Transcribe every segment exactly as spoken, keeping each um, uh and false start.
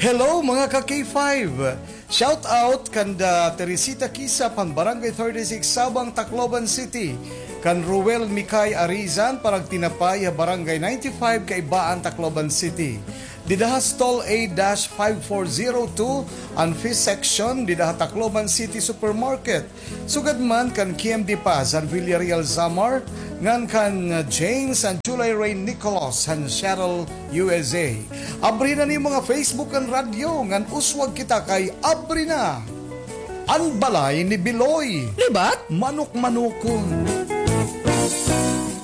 Hello, mga ka K five! Shout out kanda Teresita Kisap han Barangay thirty-six Sabang, Tacloban City, kan Ruel Mikay Arizan, parag tinapay ha Barangay ninety-five, Kaibaan, Tacloban City. Dida ha Stall A dash five four zero two, an fish section, dida ha Tacloban City Supermarket. Sugad man kan K M D Paz han Villarreal, Samar, ngan kan, uh, James and July Ray Nicolas han Seattle, U S A. Abri na an iyo mga Facebook ngan radyo, ngan uswag kita kay abri na an balay ni Biloy. Libat? Manok-manokon.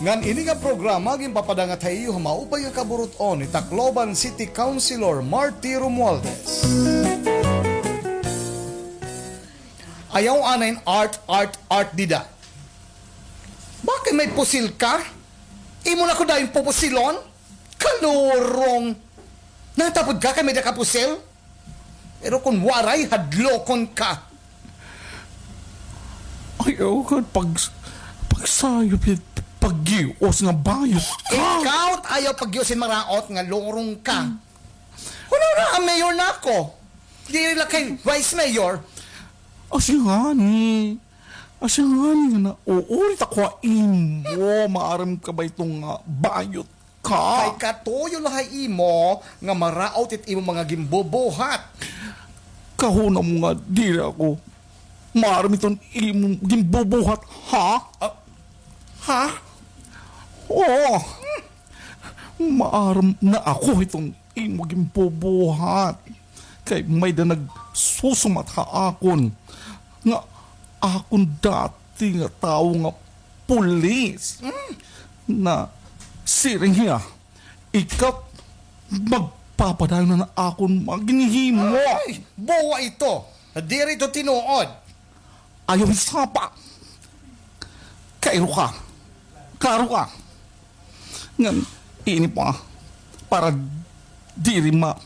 Ngan ini nga programa ginpapadangat ha iyo ha maupay nga kaburut-on ni Tacloban City Councilor Marty Romualdez. Ayaw anay art, art, art dida. Bakit may pusil ka? Imo na ko dayon pupusilon? Kalurong! Natapod ka kay may-ada ka pusil? Pero kon waray, hadlokon ka. Ayaw ka pag-, pagsayop hit paggios nga bayot ka. Ikaw it ayaw paggios hin maraot nga lurong ka. Hunahunaa, mayor na ako. Diri la kay vice mayor. Asya ngani. Asya ngani nga nauurit ako ha imo. Maaram ka ba ito nga bayot ka? Kay katuyo la ha imo nga maraot it imo mga ginbubuhat. Kahuna mo nga diri ako maaram iton imo ginbubuhat, ha? Ah, ha? Oo. Maaram na ako iton imo ginbubuhat. Kay may-ada nagsusumat ha akon nga akon dati nga tawo nga pulis. Hmm. Nasiring hiya, ikaw magpapadayon na akon mga ginhimo. Ay, buwa ito. Diri ito tinuod. Ayaw hisapa. Kairo ka. Klaro ka. Ngan, ini pa, para diri ma-,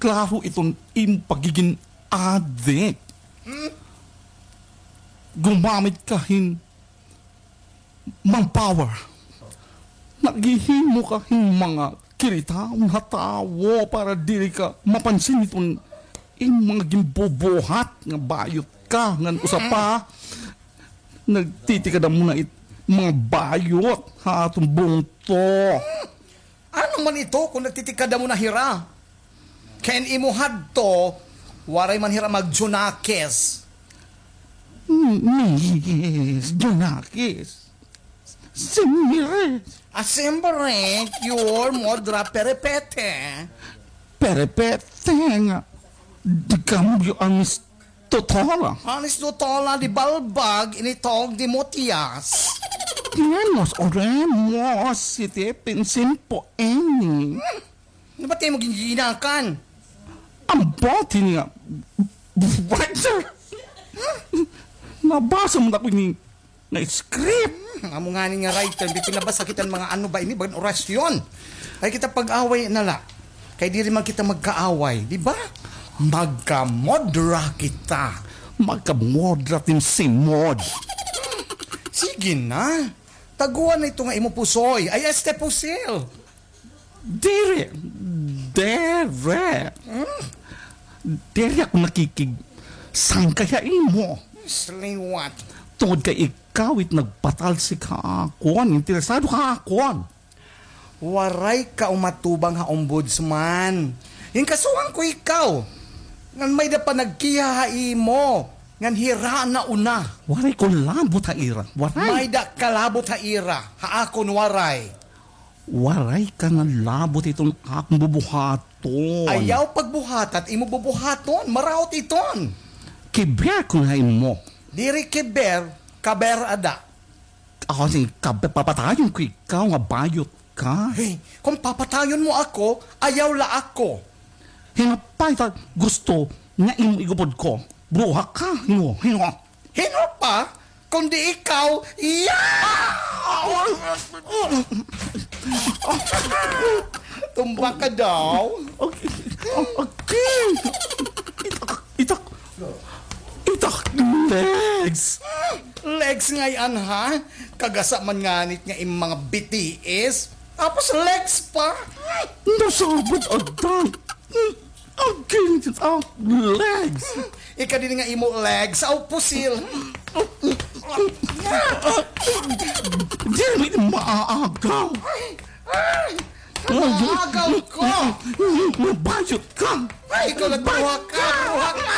klaro iton im pagigin adik. Hmm? Gumamit ka hin manpower. Naghihimo ka hin mga kiritaon ha tawo para diri ka mapansin iton im mga ginbubuhat nga bayot ka ngan usa pa nagtitikada mo na it mga bayot ha aton bungto. Ano man ito kon nagtitikada mo na hira? Kay an imo hadto, waray man hira mag-Junakis. Miss Junakis. Simire. Ah, simire, your modra perepete. Perepete nga. Di kambyo an Miss Totola. An Miss Totola di balbag, ini tawag di motyas. Tenemos, oremos, siete, pinsin po, eni. Hmm. Ano ba tayo maging ginakan? Ang bote niya. What, sir? Nabasa mo na ko ini nga script. Hmm, amo ngani nga writer, di pinabasa kita mga ano ba ini, bagan orasyon. Ay kita pag-away na la. Kay diri man kita magkaaway, di ba? Magkamodra kita. Magkamodra tin simod. Sige na. Taguan na ito nga imo pusoy. Ay, este pusil. Diri. Diri. Hmm? Diri ako nakikigsangkay ha imo. Sliwat. Tungod kay ikaw it nagpatalsik ha akon. Interesado ka ha akon. Waray ka umatubang ha ombudsman. Ginkasuhan ko ikaw. Ngan may-ada pa nagkiha ha imo. Ngan hira na una. Waray ko labot ha ira. Waray. May-ada ka labot ha ira. Ha akon waray. Waray ka nga labot iton akon bubuhaton. Ayaw pagbuhat it imo bubuhaton. Maraot iton. Kiber ko na imo. Diri kiber, kaber ada. Ako si kaber, papatayon ko ikaw nga bayot ka. Hey, kon papatayon mo ako, ayaw la ako. Hinapay ta gusto nga imo igubod ko. Bruha ka, hino, hino. Hino pa? Kundi ikaw, yeah! Tumba ka daw. Okay. Okay. Itak, itak. Itak legs. Legs ngay-an, ha? Kagasa man nganit nga im mga B T S. Tapos legs pa. Nasabot agdan. Killed it out legs. Ika din nga imo legs, aw pusil. Dili maagaw. Ay, ay, maagaw ko. Mabayot ka. Ay, ikaw nagbuhat ka, buhat ka.